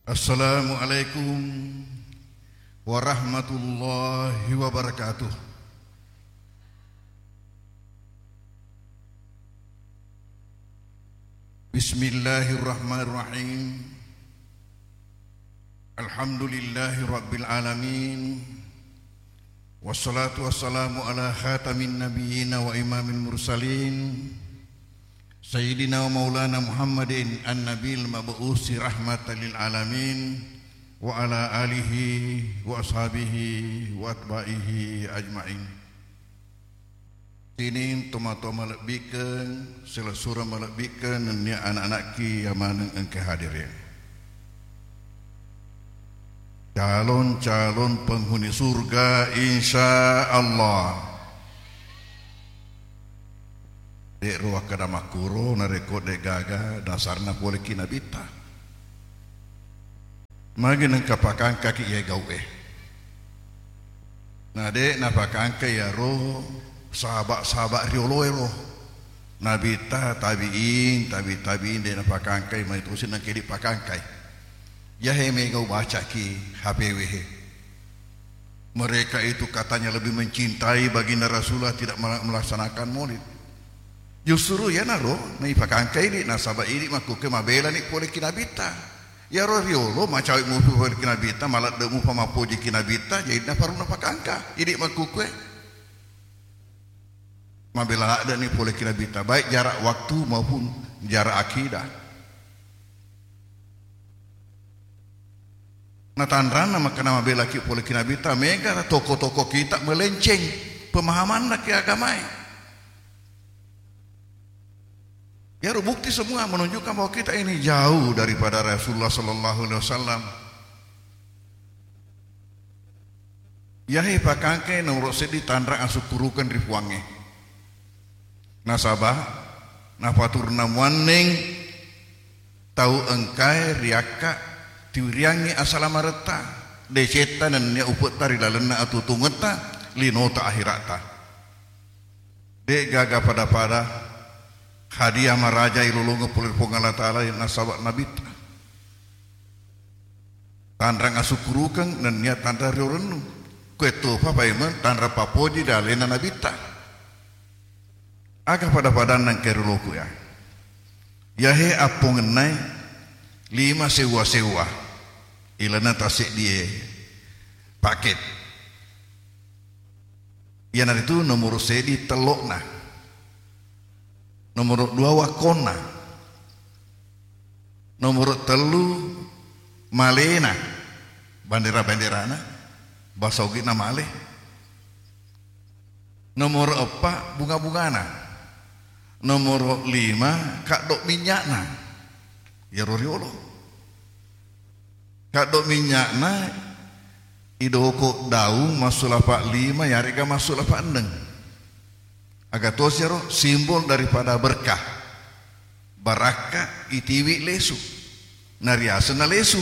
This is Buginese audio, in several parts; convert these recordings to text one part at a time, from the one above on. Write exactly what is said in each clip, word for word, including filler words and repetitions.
Assalamualaikum warahmatullahi wabarakatuh. Bismillahirrahmanirrahim. Alhamdulillahi rabbil alamin. Wassalatu wassalamu ala khatamin nabiyyina wa imamil mursalin, Sayyidina wa maulana Muhammadin an-nabil mab'usi rahmatan lil alamin, wa ala alihi wa ashabihi wa atba'ihi ajma'in. Sining tomatoa malebbi'keng, silessureng malebbi'keng, nennia anak-anakki yamaneng engka hadir e. Calon-calon penghuni surga, insya Allah. De' ro wakkeda makkuro, narekko de' gaga dasarna poleki nabitta. Magi nengka pakangkaki iye gau'e? Na de' napakangka iyaro sahaba-sahaba rioloe ro. Nabitta, tabi'in, tabi' tabi'in de' napakangkai, mai tosi nengka idi' pakangkai. Iyahe mega ubacaki H P W he. Mereka itu katanya lebih mencintai baginda Rasulullah, tidak mela-, melaksanakan maulid. Justru iyanaro naipakangkai idi', nasaba' idi' makkukue mabelani poleki nabitta. Iyaro riolo macawe' mupi poleki nabitta, maladde' mupa mappojiki nabitta, jadi naparunna pakangka idi' makkukue. Mabela ladde'ni poleki nabitta, baik jarak waktu maupun jarak akidah. Na tanranna makkeda mabelaki poleki nabitta, mega toko-toko kita melenceng pemahamanna ke agamae. Iyaro bukti semua menunjukkan bahwa kita ini jauh daripada Rasulullah sallallahu alaihi wasallam. Iyahe pakangke nomoro seddi tanrang asukkurukeng ri Puangnge. Nasaba' napaturunna muanneng tau engkae riakka tiwiriangngi asalamaretta, decetta nennia upe'ta ri lalenna atutungetta, linota ahira'ta. De' gaga pada-pada hadiah maraja ilolongeng pole ri Puang Allah Ta'ala nasaba' nabitta. Tanrang asukkurukeng nennia tanrang riorennu. Kue topa paimeng tanrang papoji ri alena nabitta. Aga pada-padanna engkae rioloku ya? Iyahe appongennae lima sewwa-sewwa. Ilana taseddie paket. Iyanaritu nomoro seddi tello'na. Nomoro dua wakkonna. Nomoro tellu malena. Bandera-banderana. Basa Ogi'na male. Nomoro eppa bunga-bungana. Nomoro lima kaddo minynya'na. Iyaro riolo. Kaddo minynya'na idoko daung massulapa' lima, yarega massulapa' enneng. Aga tosi iyaro simbol daripada berkah. Barakka itiwi lesu. Nariasenna lesu.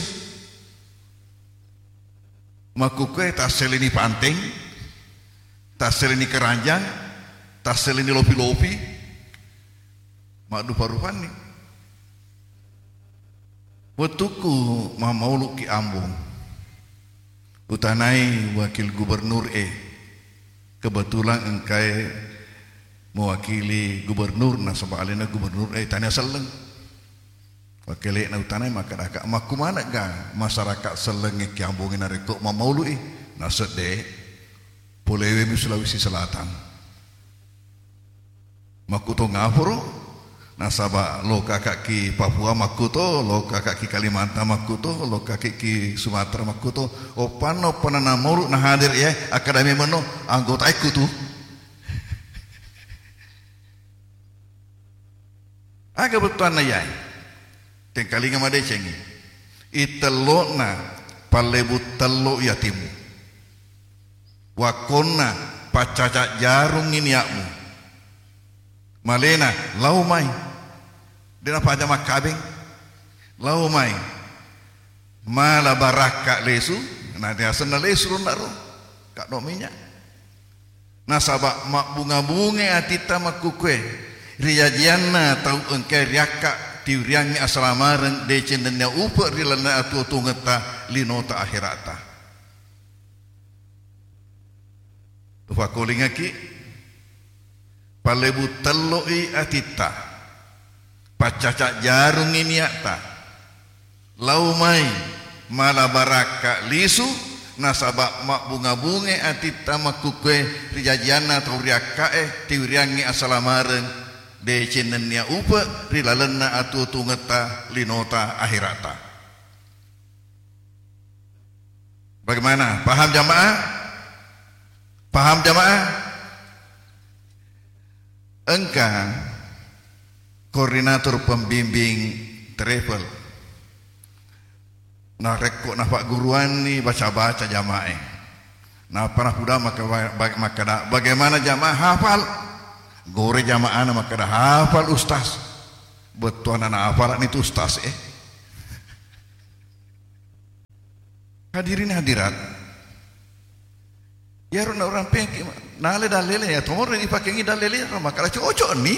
Makkukue tasseleni panteng, tasseleni keranjang, tasseleni lopi-lopi, maddupa-rupanni. Wettukku mammauluki Ambung, utanai wakil gubernur e, kebetulan engkae mewakili gubernur, nasaba alena gubernur e tania selleng. Wakkele'na utanai makkedaka, makkumanegga masyarakat sellengnge ki Ambungnge narekko mammaului? Nasedde, polewemi Sulawesi Selatan. Makkuto ngapuro, nasaba lokaka ki Papua makkuto, lokaka ki Kalimantan makkuto, lokaka ki Sumatera makkuto. Oppanna, oppanna nammaulu nahadir ya, akkadami meno anggota ekku tu. Aga bettuanna iyae? Tengkalinga madecengngi. Itello'na pallebu tello yatimmu. Wakkonna paccaca jarungngi nia'mu. Malena lao mai. De napaja makkabeng. Lao mai. Mala barakka lesu, na riasenna lesu ronna ro. Kaddo minya. Nasaba mabbunga-bungai atitta makkukue, rijajianna tau engkae riakka tiwiriangngi asalamareng, deceng nennia upe ri lalenna atuo-tuongetta linota aherata. Ufakolingaki, pallebu telloi atitta, paccaca jarungngi niatta, lao mai mala barakka lisu, nasaba mabbunga-bungai atitta makkukkue ri jajianna tau riakkae, tiwiriangngi asalamareng, deceng nennia upe ri lalenna atuo-tuongetta linota aherata. Bagaimana? Paham jamaah? Paham jamaah? Engka koordinator pembimbing travel. Narekko nafagguruanni baca-baca jamaah. Napa napuda maka-, ba-, makkada, "Bagaimana jamaah hafal?" Gore jamaahna makkada, "Hafal, Ustaz." Bettuanna nahafalni tu Ustaz, eh. Hadirin hadirat, iyaro naurampengki, nale dalele, ya tomorro dipakengi dalele, makkada cocok ni,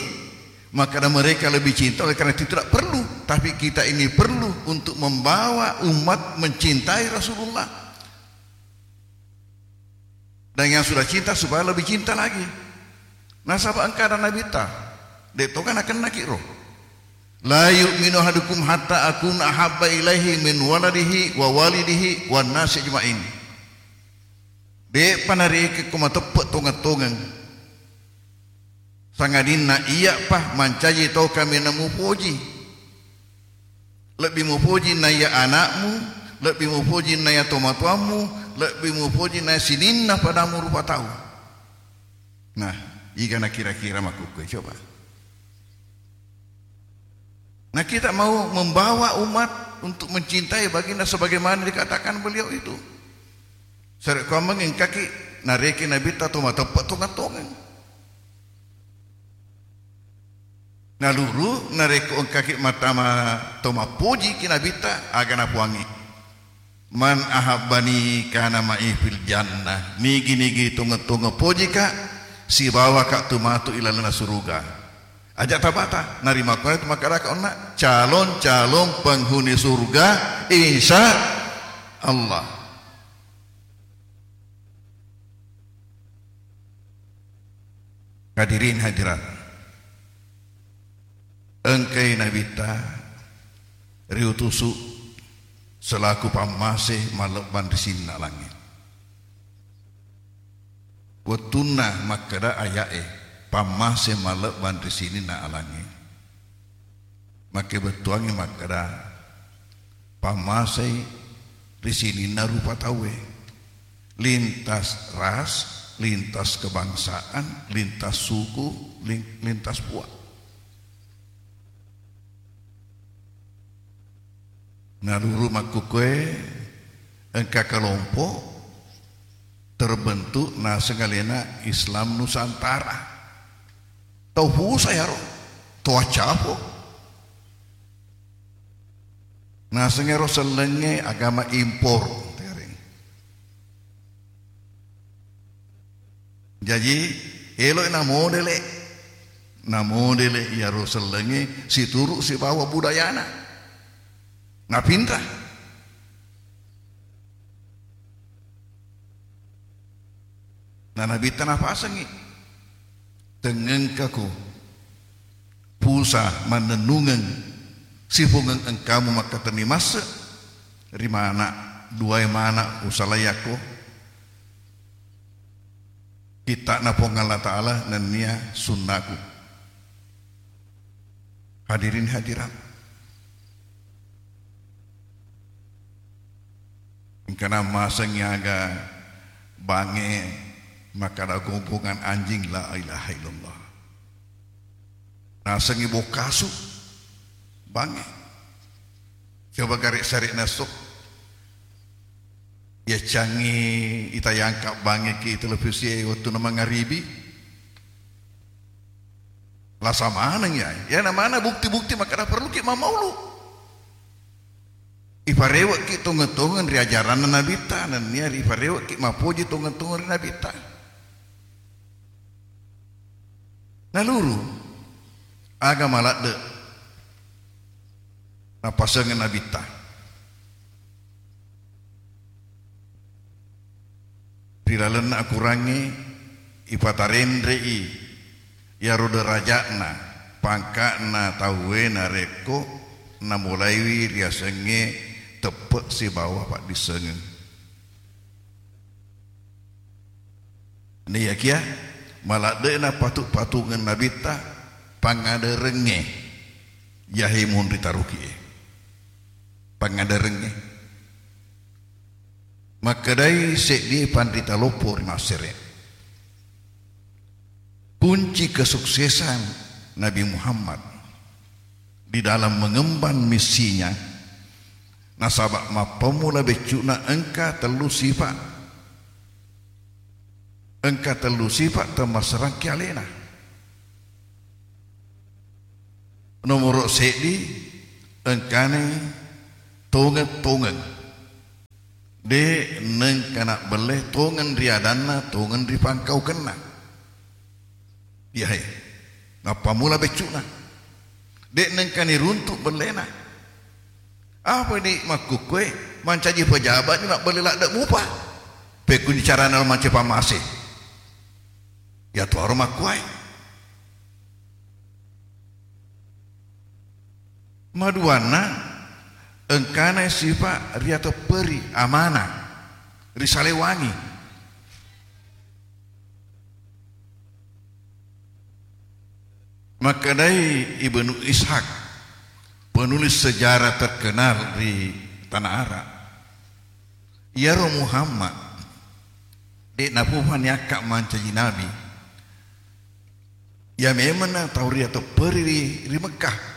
makkada mereka lebih cinta oleh karena itu tidak perlu, tapi kita ini perlu untuk membawa umat mencintai Rasulullah. Dan yang sudah cinta supaya lebih cinta lagi. Nasaba engka ada Nabitta, de' toga nakennaki ro. "La yu'minu ahadukum hatta akuna ahabba ilaihi min waladihi wa walidihi wan nasi ajma'in." De'pa narekekko mateppe' tongeng-tongeng, sangadinna iya'pa mancaji tau kaminang mupoji. Lebbi mupoji naiya ana'mu, lebbi mupoji naiya tomatoammu, lebbi mupoji naiya sininna padamu rupa tau. Nah, igana kira-kira makkukkue, coba. Nah, kita mau membawa umat untuk mencintai baginda sebagaimana dikatakan beliau itu. Sarekkuammengngi engkaki nareke Nabitta to mateppe' tongeng-tongeng. Naluru, narekko engkaki mattama to mappojiki Nabitta, aga napuangngi, "Man ahabbani kana ma'i fil jannah." Nigi-nigi tongeng-tongeng pojika, sibawaka tu matu ilalenna suruga. Aja tabata, narimakkuanatu makkedaka onna calon-calon penghuni surga, insya Allah. Hadirin hadirat, engkai Nabitta riutusu selaku pammase mallebbang ri sininna alangnge. Wettunna makkeda aya'e, pammase mallebbang ri sininna alangnge, makkebettuangngi makkeda, pammasei ri sininna rupa tauwe, lintas ras, lintas kebangsaan, lintas suku, lin-, lintas puang. Naluru makkukkue, engka kelompok terbentuk naseng alena Islam Nusantara. Tau fusa yaro, tau accapo. Naseng ero sellengnge agama impor. Jaji, eloi namodele, namodele iyaro sellengnge situru sibawa budayana. Napinra. Na Nabitta napasengngi, "Tengngengkako pusa mannennungeng sipungeng engkamu makkatenni masse ri mana, duae mana usalaiakko kitta'na Puang Allah Ta'ala nennia sunnaku." Hadirin hadirat, engkana masengngi aga bangnge makkada gonggongan anjing, la ilaha illallah. Nasengngi bokkasu bangnge. Coba gare' sare' nasso. Yaccangngi itayangka' bangnge ki televisi e wettunna mangaribi. Lasa maneng ya. Ya namana bukti-bukti makkada perluki mamaulu. Iparewe'ki tongeng-tongeng ri ajaranna Nabitta, nennia riparewe'ki mappoji tongeng-tongeng ri Nabitta. Naluru, aga maladde' Nappasengeng Nabitta. Ri lalenna akurangngé ipatarénré'i iyaro deraja'na, pangka'na tauwé narékko namulaiwi riasengngé teppe' sibawa paddissengeng. Naiyakiya maladde'na patu-patungeng Nabitta pangaderengngé, yahé monri taruki'é. Pangaderengngé. Makkedai séddié panrita loppo ri Maséré, kunci kesuksesan Nabi Muhammad di dalam mengemban misinya, nasaba' mappammula beccu'na engka tellu sifa', engka tellu sifa' temmasserangki aléna. Nomoro' séddi, engkanai tongeng-tongeng. Dé' nengka nabbellé tongeng ri adanna, tongeng ri pangkaukenna. Iyahé, nappammula beccu'na. Dé' nengka niruntu' belléna. Apa di' makkukkué, mancaji pejaba'ni mabbellé ladde' mupa. Pékkunni carana lo mancaji pammasé. Iyatuaro makkuwaé. Maduanna, engkana sifa' riatepperi, amanah, risalewangi. Makkedai Ibnu Ishaq, penulis sejarah terkenal ri tanah Arab, iyaro Muhammad dé' napupa niakka mancaji nabi. Iya mémenna tau riatepperi ri, ri Mekkah.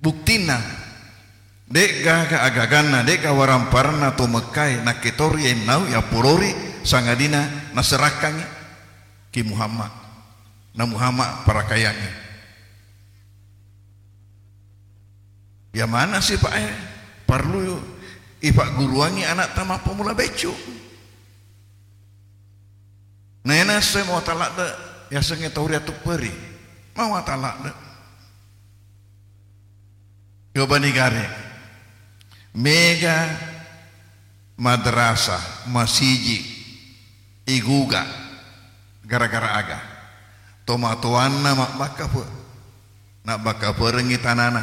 Buktinna, dé'gaga agaganna, dé'ga waramparanna to Mekkaé nakkétori ennau yappolori sangadinna naserakkangngi ki Muhammad. Na Muhammad parakayangngi. Iya maneng sipa'é parellu ipagguruangngi ana'ta mappammula beccu'. Naéna esso mawatang ladde' yasengngé tau riatepperi. Mawatang ladde'. Coba nigaré. Méga madrasah, masiji, iguga. Gara-gara aga? Tomatoanna mabbakkape-, nabbakkaperengngi tanana.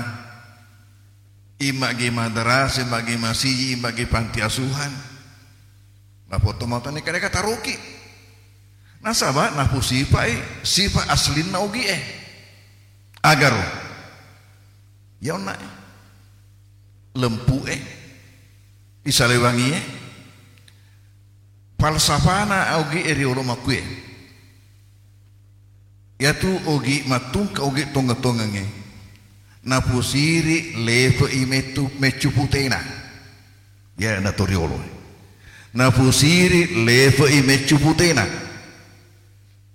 Immagi madrasah, immagi masiji, immagi panti asuhan. Napotto matoanna engka dé'ga taroki. Nasaba' napusifa'i sifa' aslinna ogi'é. Agaro? Iya onna'é. Lempu'é. Isalewangié. Falsafana ogi'é riolo makkué. Iyatu ogi' mattungka, ogi' tongeng-tongengngé, napusiri' lefe'i mettu-, meccu puténa. Iya natoriolo. Napusiri' lefe'i meccu puténa.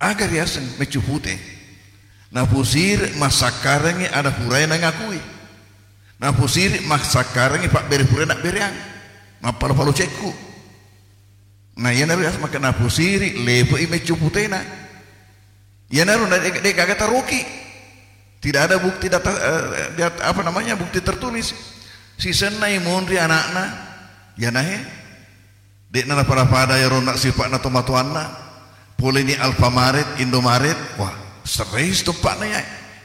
Aga riaseng meccu puté? Napusiri' massakkarengngi ada puraé nangakui. Napusiri' massakkarengngi pabbéré puraé nabbéréang. Mappalo-palo cekku. Nah, iyanaro riaseng makkeda napusiri' lefe'i meccu puténa. Iyanaro na-, dé', dé' gaga taroki. Tidak ada bukti data, eh, di at-, apa namanya, bukti tertulis. Sisennai monri ana'na, iyanaé dé'na napada-pada iyaro onna' sipa'na tomatoanna. Poléni Alfamaret, Indomaret, wah, seréi teppa'na iya.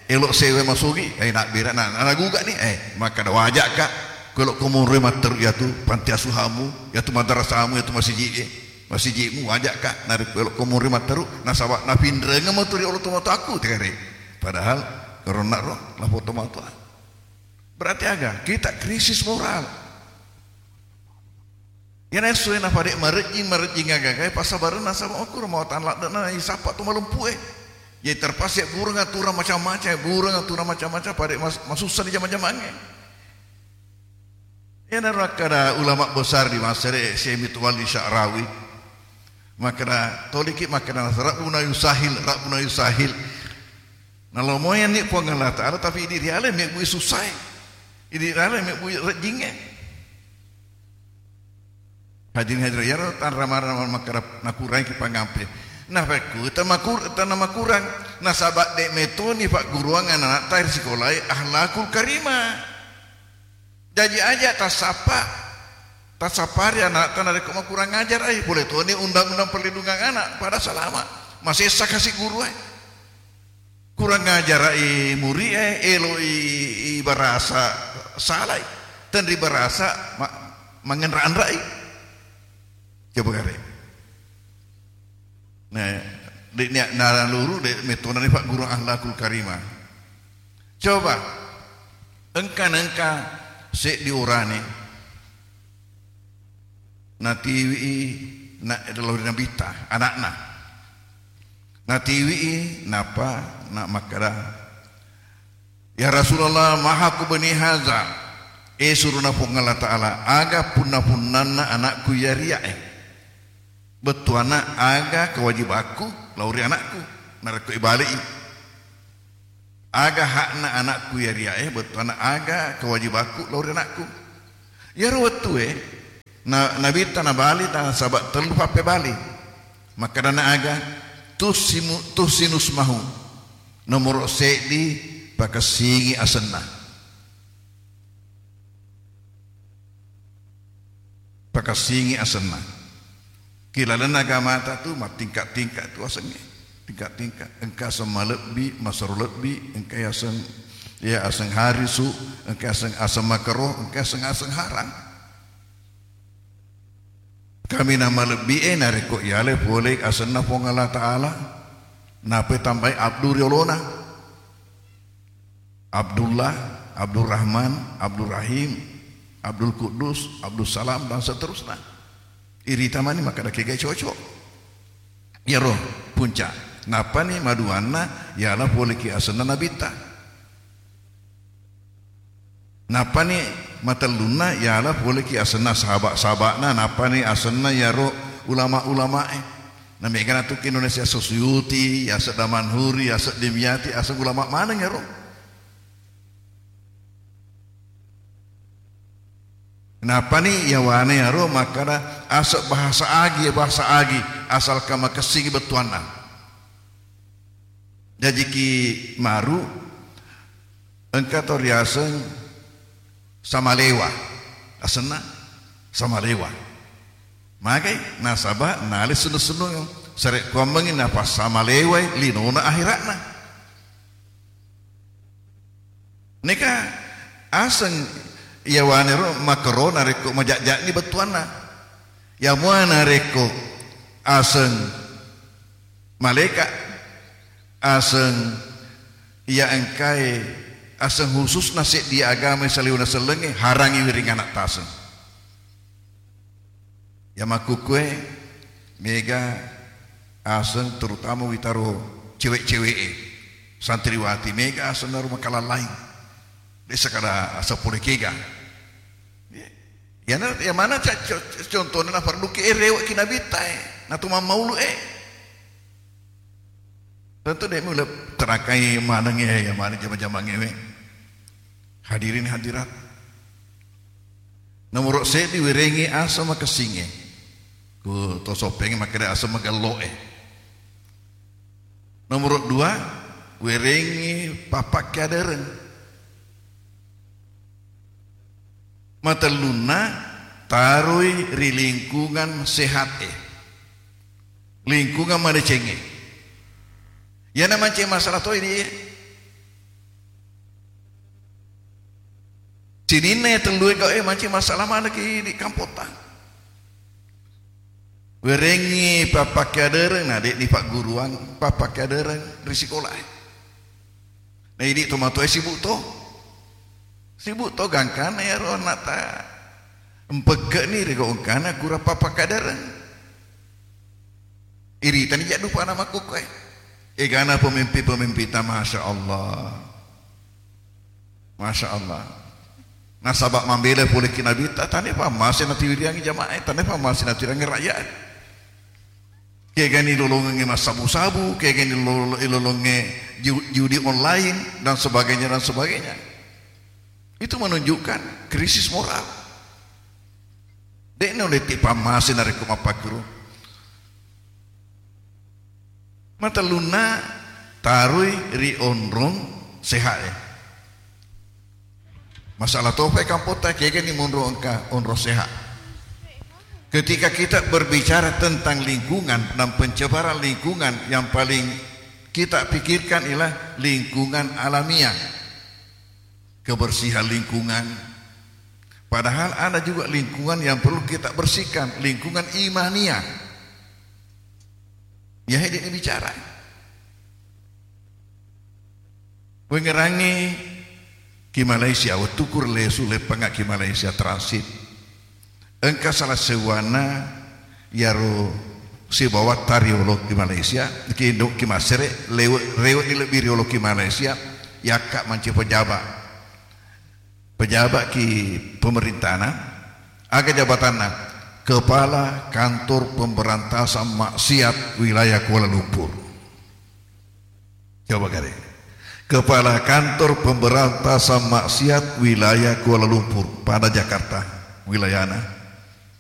Élo' séwai masugi, eh, nabbéra, na, na, naguga'ni, eh, makkeda, "Waja'ka, ko élo'ko monroé matteru iyatu panti asuhammu, iyatu madrasahmu, iyatu masiji'é, masiji'mu, waja'ka, narékko élo'ko monroé matteru, nasaba' napinrengeng matu ri olo tomatoakku," téréi. Padahal karo onna'ro, lapong tomatoa. Berarti aga? Kita krisis moral. Iyana essoé napadé marejjing, marejjing agagaé, passabarenna nasaba' makkuro mawatang ladde'na isappa to malempu'é. Jadi terpaksa burung aturan macam-macam, burung aturan macam-macam, padé mas-, masussa di jama-jamangngé. Iyanaro akkada ulama besar di Maséré, Syekh Mitwalli Sya'rawi. Makkeda, toliki makkeda, "Rabbuna yusahil, Rabbuna yusahil." Nalomoyanni Puang Allah Ta'ala, tapi idi riala mébbu sussaé. Idi riala mébbu rejjingngé. Hadirin hadirat, iyaro tanra-mara makkeda nakurangki pangampé. Napekku tamakur-, tanamakurang, nasaba' dé' metoni pagguruang anana'ta ri sikolaé akhlakul karimah. Jaji aja tassappa, tassappa ri ana'ta narekko makurang ajar ai, pole toni undang-undang perlindungan anak, pada salama. Masessa kasi guru ai. Kurang ajar ai muri e, elo i, i barasa salai. Tenri barasa ma-, mangenra-anra i. Coba gare. Nah, de' nia-, naluru de' metona ni Pak Guru akhlakul karimah. Coba, engka nengka seddi orane natiwi i na, lao ri Nabitta, anakna. Natiwi i, napa, na makkada, "Ya Rasulullah, maha kubni haza?" Eh, suruna Puang Allah Ta'ala, aga punna-punnanna anakku iya riya e? Bettuanna aga kewajibakku lao ri anakku narekko ibali'i? Aga hakna anakku iya riya e? Bettuanna aga kewajibakku lao ri anakku? Iyaro wettue na-, Nabitta nabali nasaba tellu pappebali. Makkedana aga? Tusimu-, tusinusmahu. Nomoro seddi, pakessingi asenna. Pakessingi asenna. Ki lalenna agamata tu mattingka-tingka tu asengnge. Tingka-tingka. Engka aseng malebbi, masero lebbi, engka aseng, ya, aseng harisu, engka aseng, aseng makero, engka aseng, aseng harang. Kaminang malebbi e narekko yale pole asenna Puang Allah Ta'ala, nape tambai abdu riolona. Abdullah, Abdurrahman, Abdurrahim, Abdul Quddus, Abdul Salam, dan seterusnya. Irita mani makkeda kega cocok. Iyaro puncak. Nappani maduanna yala poleki asenna Nabitta. Nappani matellunna yala poleki asenna sahabat-sahabatna, nappani asenna yaro ulama-ulamae. Na mega natukki Indonesia, Suyuti, yaseng Damanhuri, yaseng Dimyati, aseng ulama maneng yaro. Nappani yawane yaro makkada aseng bahasa agi, bahasa agi, asalkan makessingi bettuanna. Jajiki maru engka to riaseng Samalewa, asenna Samalewa. Magai nasaba nale sennu-sennu sare kuammengi napassamalewai linona akhiratna. Neka aseng yawanero makero narekko majajani bettuanna. Yamua narekko aseng maleka, aseng iya engkae, aseng khususna seddi agama saliweng nasellengnge, harangi wiring anak taseng. Ya makkukkue mega aseng, terutama witaro cewek-cewek e, santriwati, mega aseng naro makalallaing. Desa kada aseng pole kega. Yana, ya mana ca-, co-, contohnya na farduki e rewe ki Nabitta e, na tu mammaulu e. Tentu de' mulle terakai maneng e, ya mana jama-jama ngewe. Hadirin hadirat. Nomoro seddi, werengi aseng makessinge. Ku to sopeng makkeda aseng magello e. Nomoro dua, werengi pappakke adereng. Matellunna, taroi ri lingkungan sehat e. Lingkungan madeceng e. Yana manceng masalah toi di e. Sininna iya tellu e gau e mancing masalah manekki di kampotta. Werengngi pappakke adereng, na de'ni pagguruang pappakke adereng ri sikolae. Na idi tomatoae sibuk to. Sibuk to gangkanna iyaro anakta. Mpekke'ni ri gau engkana kurang pappakke adereng. Iritani jaddupana makkukkoe. Egana pemimpin-pemimpinta, Masya Allah. Masya Allah. Nasaba mambela pole ki Nabitta, tane pammase natiwiriangi jamaah, tane pammase natiwiriangi rakyat. Kegani lolongengnge massabu-sabu, kegani lolo-, lolongnge ju-, judi online, dan sebagainya, dan sebagainya. Itu menunjukkan krisis moral. De'na uletti pammase narekko mappakkuro. Matellunna, taroi ri onrong sehat e. Masalah topa kampotta kegani monro engka onro sehat. Ketika kita berbicara tentang lingkungan dan pencemaran lingkungan, yang paling kita pikirkan ialah lingkungan alamiah, kebersihan lingkungan. Padahal ada juga lingkungan yang perlu kita bersihkan, lingkungan imaniah. Ya, ini bicara. Wengerangi ki Malaysia, wettuku lesu leppanga ki Malaysia transit. Engka salah seuwana yaro sibawa tariolo ki Malaysia, ki Indo, ki Masere, lewe-, rewe ni lebbi riolo ki Malaysia, yakka manci pejabat. Pejabat ki pemerintana, aga jabatanna? Kepala Kantor Pemberantasan Maksiat Wilayah Kuala Lumpur. Coba kali. Kepala Kantor Pemberantasan Maksiat Wilayah Kuala Lumpur pada Jakarta wilayana.